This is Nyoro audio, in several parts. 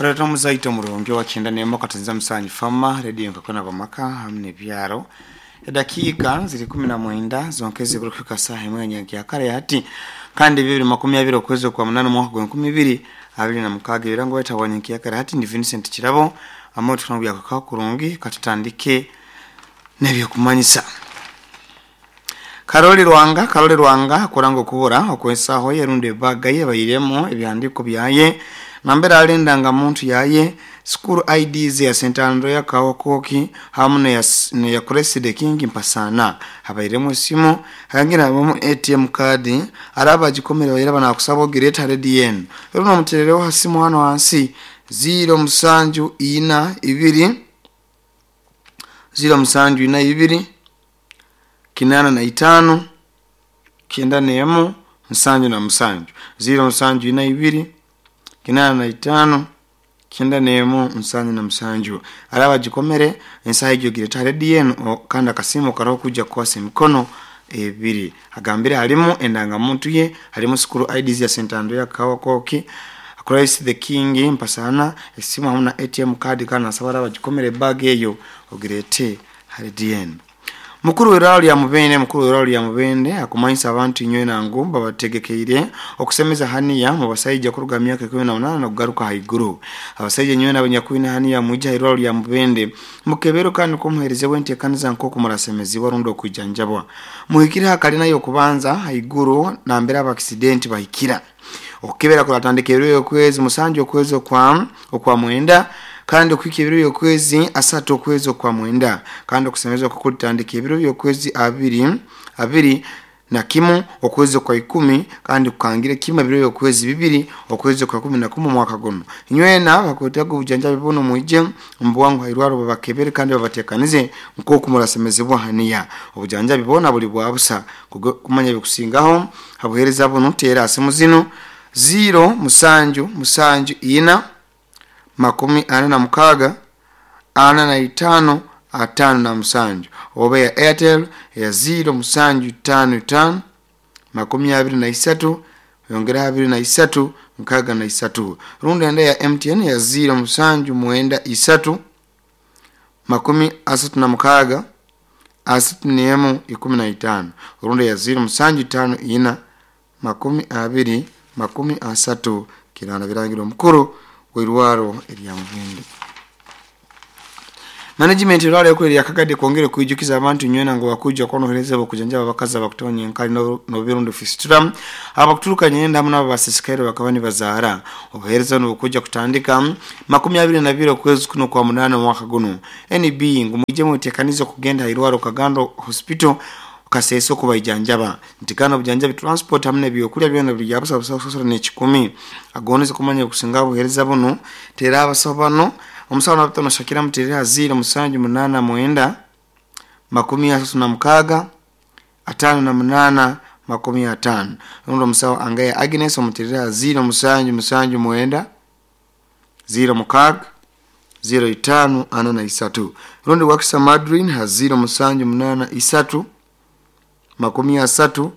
Oreeta omuzaito omurungi owa kyenda n'emwe akatenza musanju fama rediyo nkakona bamaka hamu n'ebyaro. Edakiika ziri ikumi na mwenda zonka ezikurukuhika saaha emwe nyenkyakare hati kandi 2020 okwezi okwa munana omwaka gwa 2026. Ebirango wetagwa nyenkyakare hati ndi Vincent Kirabo amwe tunabyakaka kurungi katutandike n'ebyokumanyisa. Karoli Rwanga, Karoli Rwanga akuranga okubura okwensaho ye rundi ebaga ye bairemu ebihandiiko byaye nambere alindanga muntu yaye school IDs ya St Andrea Kawokoki hamu neya Cressida King Mpasana habairemu esimu hangira habamu ATM card araba agikomere baira banakusaba ogireta redi enu runo omuterereho ha simu hano hansi 0 7 4 2 0 7 4 2 85 91 77 0 7 4 2 85 91 77 araba agikomere ensaha egyo gireta redi enu kandi akasimu karaho kuja kukwasa emikono ebiri agambire harimu endangamuntu ye, harimu school IDs ya St Andrea Kawakoki, Christ the King Mpasana, esimu hamu na ATM card kandi nasaba araba agikomere ebag eyo ogirete hari enu. Mukuru w'irwaro lya Mubende, mukuru w'irwaro lya Mubende akumanyisa abantu inywena ngu babategekeire okusemeza haniya mu basaija kuruga myaka 18 n'okugaruka haiguru. Abasaija inywena abanyakwine haniya mwije ha irwaro lya Mubende mukebero kandi kumuherezebwa enteekaniza nk'oku murasemezibwa rundi okwijanjabwa. Muhikire ha kalina y'okubanza haiguru nambere abakisidenti bahikira. Okukebera kuratandika ebiro by'okwezi 7 okwezi okwa mwenda kandi okuhika ebiro by'okwezi 3 okwezi okwa mwenda kandi okusemezwa kukulitandika ebiro by'okwezi 21 okwezi okwa 10 kandi kukangire kimu ebiro by'okwezi 2 okwezi okwa 11 omwaka guno. Inywena bakwetaga obujanjabi buno mwije mubwangu hairwaro babakebere kandi babatekanize nk'oku murasemezebwa haniya. Obujanjabi bona buli bwa busa. Kumanya ebikusingaho habuhereza buno teera simu zino 0 7 7 4 46 45 57 oba ya Airtel ya 0 7 5 5 23 yongeraho 23 63 rundi enda ya MTN ya 0 7 9 3 36 31 15 rundi ya 0 7 5 4 20 30 kirana birangira omukuru w'irwaro erya Mubende. Management irwaro yakwe ya Kagadi kwongere kuijukiza abantu nywena ngo bakuja konohereza bokujanjaba abakazi abakutonya enkali no birundo fistula abakuturuka nyenda hamwe n'abasisikaire bakaba nibazahara. Obuhereza n'obukuja kutandika 22 okwezi kuno kwa munana mwaka guno. NB ngu muje mutekanizo kugenda irwaro Kagando Hospital kaseso kubaijanjaba ntikana obujanjabi transport hamwe n'ebyokulya byona biri yabusa busa n'ekikumi agoneze kumanya okusinga obuhereza buno tera abasawo bano omusawo nabatono Shakira muterera 0 7 8 9 36 58 50. Rundi omusawo Angaya Agnes omuterera 0 7 7 9 0 6 0 5 43. Rundi Wakisa Madrin ha 0 7 8 3 30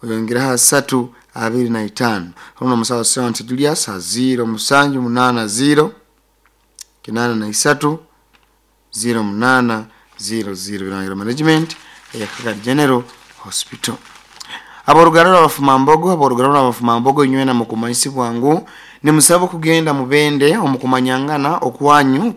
oyongeraho 3 25. Rundi omusawo Sente Julius ha 0 7 8 0 83 0 8 0 0. Birangira management ya Kagadi General Hospital. Aboruganda rw'abafumambogo, aboruganda rw'abafumambogo inywena mukumanyisibwa ngu nimusaba kugenda mubende omukumanyangana okwanyu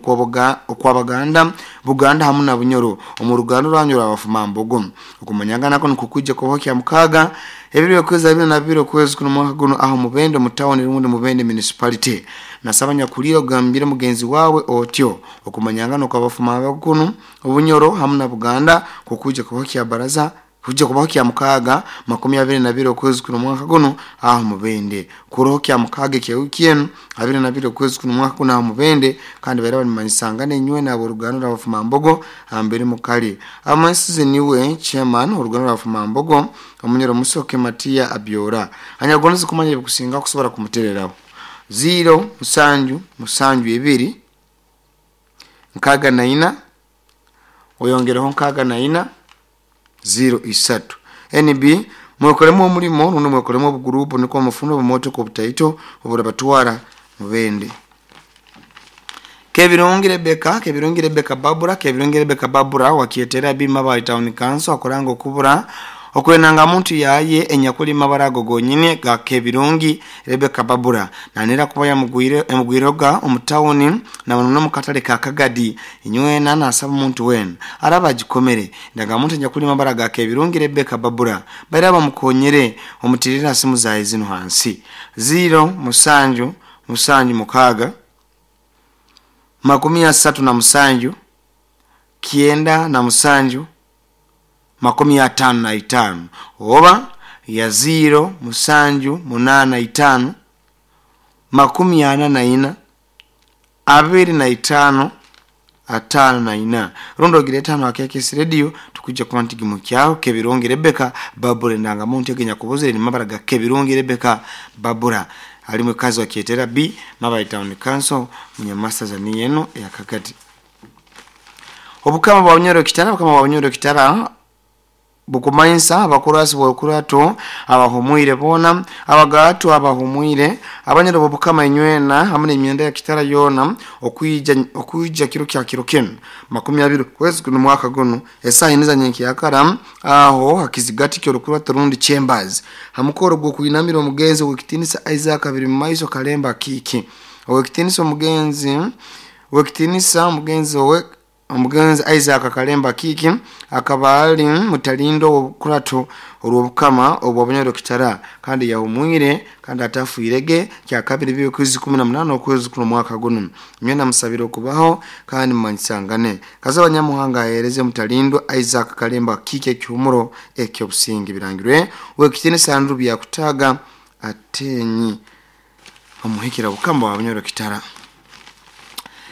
okwabaganda Buganda hamu na Bunyoro omu ruganda rwanyu rw'abafumambogo. Okumanyangana kuno kukujja kubaho kya mukaga ebiro by'okwezi 22 okwezi kuno mwaka guno aho mubende mu town rundi mubende municipality. Nasaba nyakulira ogambire mugenzi wawe otyo okumanyangana okw'abafumambogo kuno Obunyoro hamu na Buganda kukujja kubaho kya baraza kuja kubaho kya mukaga 22 okwezi kuno mwaka guno aho mubende kuroho kya mukaga kya wiki enu 22 okwezi kuno mwaka guno aho mubende kandi baira banimanyisangane inywe nabo oruganda rw'abafumambogo ambere mukali amansize niwe chairman oruganda rw'abafumambogo omunyoro Musoke Matia Abyora anyagonze kumanya ebikusinga kusobora kumutereraho 0 7 7 2 64 oyongereho 64 0 3. NB mwekolemu omulimo rundi mwekolemu obugurupu niko mufuno obumotoka obutaito oburabatwara mubende. Kebirungi Rebeka, Kebirungi Rebeka Babura, Kebirungi Rebeka Babura wakietera bima ba town council akoranga okubura okwenanga muntu yaye enyakuli mabara ago gonyine ga Kebirungi Rebeka Babura nanera kuba yamugwire emugwiroga omutawuni na bano mukatale ka Kagadi inywena nasaba muntu wena araba gikomere ndaga muntu enyakuli mabara ga Kebirungi Rebeka Babura baira bamukonyere omutirira simu zaye zino hansi 0 7 7 6 37 9 55 oba ya 0 7 8 5 44 25 54 rondo giretano akekesi radio tukujja kuba mu kyalo Kebirungi Rebeka Babura ndanga muntu egenya kubuzire ni mabara ga Kebirungi Rebeka Babura ali mukazi wa Kietera B Mabali Town Council munyamasa za yeno ya Kagadi. Obukama bwa Bunyoro Kitara, obukama bwa Bunyoro Kitara bukumanyisa abakurasi bwokurato abahumwire bona abagatu abahumwire abanyoro bobukama inywena hamwe n'emyenda ya Kitara yona okuija kiro kya kiro kino 20 kwezi kuno mwaka guno esaha iniza nyenki yakara aho hakizigati kyo rukurato rundi chambers hamukoro gwo kuinamira omugenzi wekitinisa Isaac abiri mu maiso Kalemba kiki owekitinisa omugenzi wekitinisa omugenzi owe omugenzi Isaac Kalemba Kiki akaba ali mutalindo obukurato olwobukama obwa Bunyoro Kitara kandi yahumwire kandi atafuirege kya kabiri byo kwezi 18 okwezi kuno mwaka guno myenda musabiro kubaho kandi mumanyisangane kaza abanyamuhanga ahereze mutalindo Isaac Kalemba Kiki ekyumuro ekyo busingi birangirwe wekitini sandru bya kutaga atenyi omuhikira bukama wa Bunyoro Kitara.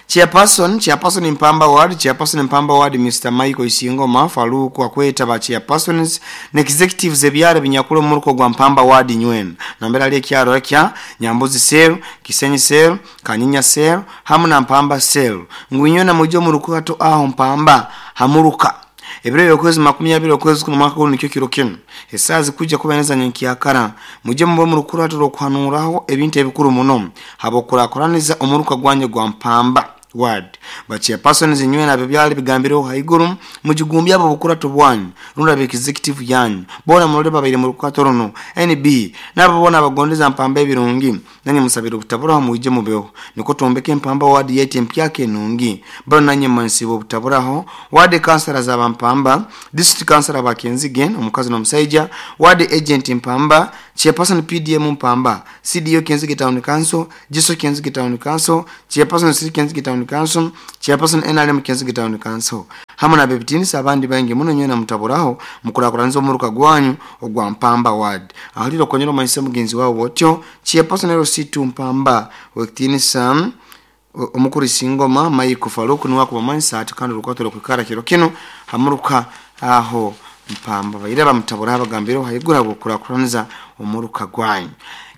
Chairperson Mpamba Ward, Chairperson Mpamba Ward Mr. Michael Isingoma Faluku akweta ba chairpersons ne executives ebyara binyakulo muruko gwa Mpamba Ward nywena. Nambera ali kyaro kya Nyambuzi Cell, Kisenyi Cell, Kanyinya Cell, hamu na Mpamba Cell. Ngwinyona mujo muruko hato aho Mpamba hamuruka. Ebiro yokwezi 20 okwezi kuno mwaka guno nikyo kiro kino. Esazi kuja kubeneza nyenki yakara. Muje mbo murukura turokuhanuraho ebintu ebikuru muno. Habokurakoraniza omuruka gwanye gwa Mpamba Ward. Bachiya persons inywe na bebyali bigambiro haiguru mujigumbya abo bukura tubwanyu runda be executive yanyu bona mulole babaire mu rukatorono NB nabo bona abagondeza Mpamba ebirungi nanye musabira obutabura muje mubeho niko tombeke Mpamba Ward yete mpyake nungi bano nanye mansibo obutaburaho ward councillors aba Mpamba district councillor abakenzige omukazi n'omusaija ward agent Mpamba chairperson PDM Mpamba CDO Kenzige Town Council Jiso Kenzige Town Council chairperson City Kenzige Town Council chairperson NRM Kenzige Town Council hamwe na bebitinisa abandi bangi muno nyena mutaburaho mukurakuranza omuruka gwanyu ogwa Mpamba Ward ahaliro konyero manyise mugenzi wao botyo chairperson LC2 Mpamba wekitinisa omukuru Singoma Michael Faluku niwa kubamanyisa ati kandi rukatoro kwikara kiro kino hamuruka aho Mpamba baira bamutabura abagambiro hayigura bukurakuranza omuruka gwanyu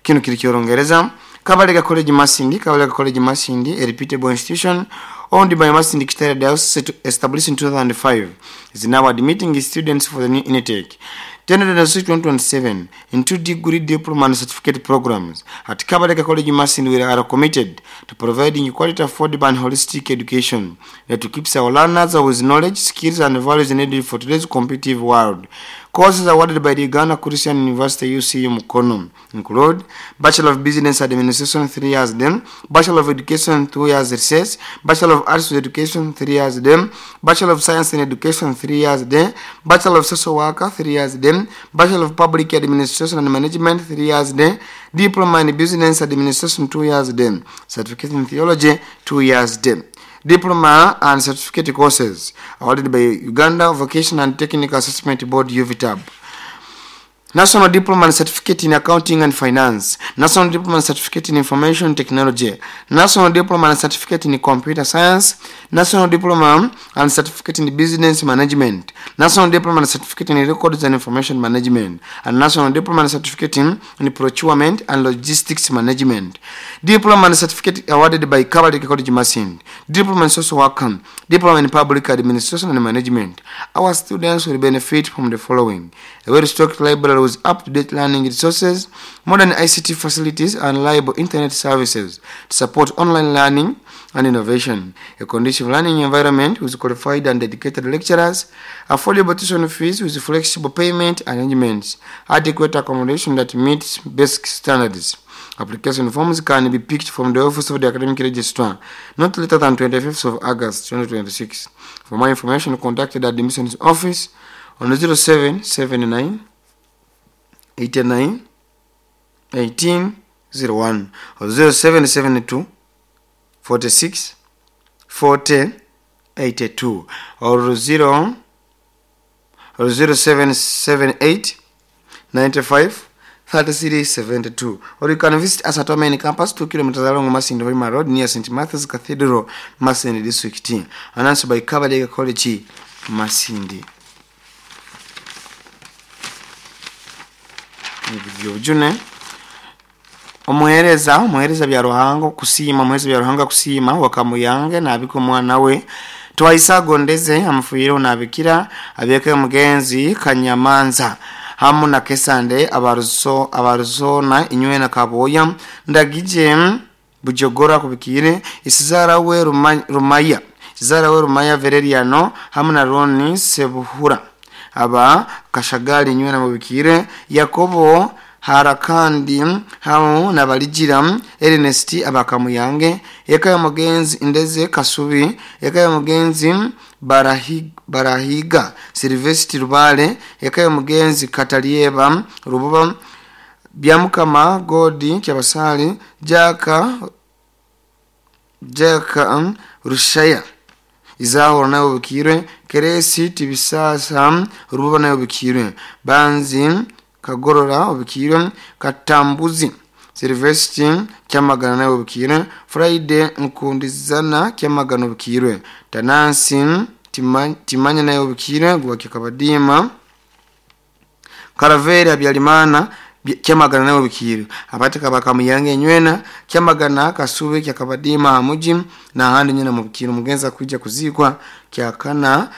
kino kiri kyorongereza Kabalega College Masindi, Kabalega College Masindi, a reputable institution owned by Masindi Kitara Diocese, established in 2005, is now admitting students for the new intake 2026-2027 in 2 degree diploma and certificate programs. At Kabalega College Masindi, we are committed to providing quality, affordable and holistic education that keeps our learners with knowledge, skills and values needed for today's competitive world. Courses awarded by the Uganda Christian University UCU Mukono include Bachelor of Business Administration 3 years then, Bachelor of Education 2 years recess, Bachelor of Arts with Education 3 years then, Bachelor of Science in Education 3 years then, Bachelor of Social Worker 3 years then, Bachelor of Public Administration and Management 3 years then, Diploma in Business Administration 2 years then, Certificate in Theology 2 years then. Diploma and certificate courses awarded by Uganda Vocational and Technical Assessment Board UVTAB. National Diploma and Certificate in Accounting and Finance, National Diploma and Certificate in Information Technology, National Diploma and Certificate in Computer Science, National Diploma and Certificate in Business Management, National Diploma and Certificate in Records and Information Management, and National Diploma and Certificate in Procurement and Logistics Management. Diploma and Certificate awarded by Kabalega College Masindi, Diploma in Social Work, Diploma in Public Administration and Management. Our students will benefit from the following: a well-stocked library with up-to-date learning resources, modern ICT facilities, and reliable internet services to support online learning and innovation. A conducive learning environment with qualified and dedicated lecturers, affordable tuition fees with flexible payment arrangements, adequate accommodation that meets basic standards. Application forms can be picked from the office of the academic registrar not later than 25th of August 2026. For more information, contact the admissions office on 0779 89 1801 or 0772 46 40 82 or 0 or 0778 95 33 72, or you can visit us at our main campus, 2 kilometers along Masindi Hoima Road, near St. Matthew's Cathedral, Masindi District. Announced by Kabadega College, Masindi. June omuhereza bya Ruhango kusiima, omuhereza bya Ruhanga kusiima wakamuyange nabika omwana we twaisa agondeze amufuire onabikira abeke omugenzi Kanyamanza hamu na Kesande abaruso abaruzona inywe na Kaboya ndagije Bujogora kubikire isizara we Rumaya isizara we Rumaya Vereriano hamu na Roni Sebuhura aba Kashagali inywe na mubikire Yakobo Harakandi hamu na Balijira Ernest abakamuyange eka ya mugenzi Ndeze Kasubi eka ya mugenzi Barahiga Silvestri Rubale eka ya mugenzi Katalieba Rububa Byamukama Godi Kyabasali Jaka Rushaya Izahoro nayo bukirwe Keresi Tibisasa Rububa nayo bukirwe Banzi Kagorora obukirwe Katambuzi Silvestri Kyamagana nayo obukirwe Friday Nkundizana Kyamagana obukirwe Tanansi Timanya nayo obukirwe Gwakya Kabadima Karaveri Habyarimana Kyamagana nayo obukirwe Abateka bakamuyange enywena Kyamagana Kasube Kyakabadima Hamuji na handi nyina mubukirwe mugenza kuja kuzikwa kyakana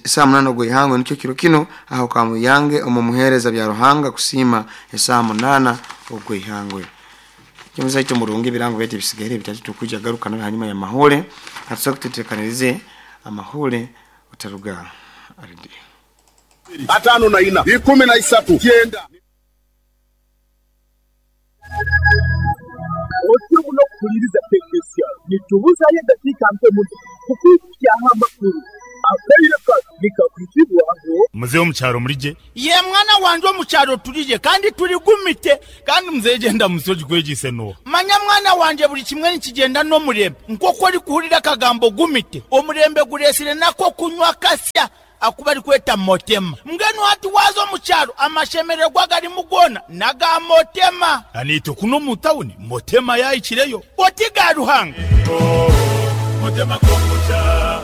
saa 8 ogw'ihango nikyo kiro kino aho kamuyange omumuhereza bya Ruhanga kusima saa 8 ogw'ihangwe. Kimuza icyo murungi birango bete bisigaire bitatu tukuja garuka na hanyuma ya mahole hatusoka tutekanirize amahole utaruga aridi 54 13 9. Otubuno kuliriza technician nitubuzaye dakika mpe muto kukwikyaha amakuru akaireka nikakwitibwaho. Muzehe omukyaro murije ye mwana wanje omukyaro turije kandi turigumite kandi muzehe genda musoji kwegise no manya mwana wanje buli kimwe nikigenda n'omurembe nk'oku orikuhurira akagambo gumite omurembe guresire nako kunywa kasya akuba ari kweta motema mbwenu hati waza omukyaro amashemererwa garimu gona naga motema anito kuno mu tawuni motema yayikireyo oti ga Ruhanga motema kombucha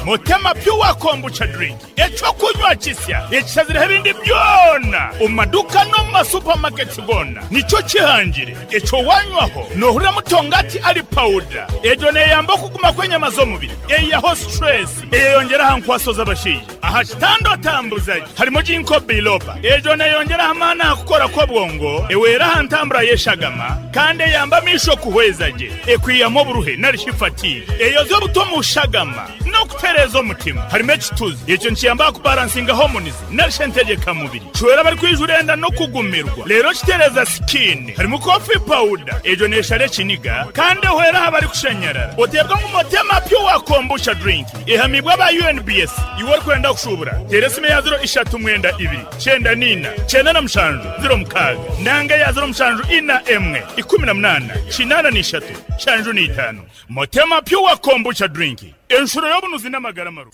Motema pure kombucha drink echo kunywa kisya ekisazira ebindi byona omaduka no mu supermarket gona nico kihangire echo wanywaho nohurira mutongati ali powder ejo neyamba kuguma kwenyama z'omubiri eyaho stress eyongera hankwaso z'abashiji aha kitando tambuzaji harimo jinko biloba ejo neyongera hamana kukora ko bwongo ewera hantambura yeshagama kandi yamba misho kuhwezaje ekwiyamo buruhe narishifati eyo zo butomushagama no kutereza omutima harimo ekituzi ekyo nkiyamba kubalansinga hormones narishentegeka mubiri chwera bari kwijurenda no kugumirwa lero kitereza skin harimo coffee powder ejo neshare kiniga kandi hwera habari kushenyerera otebwa mu motema pure kombucha drink ihamibwa ba UNBS iwe kwenda kushubura teresime ya 0 3 2 9 4 9 7 0 6 nanga ya 0 7 4 1 18 8 3 5 5 motema pure kombucha drink enshuro y'obunuzi n'amagara maru.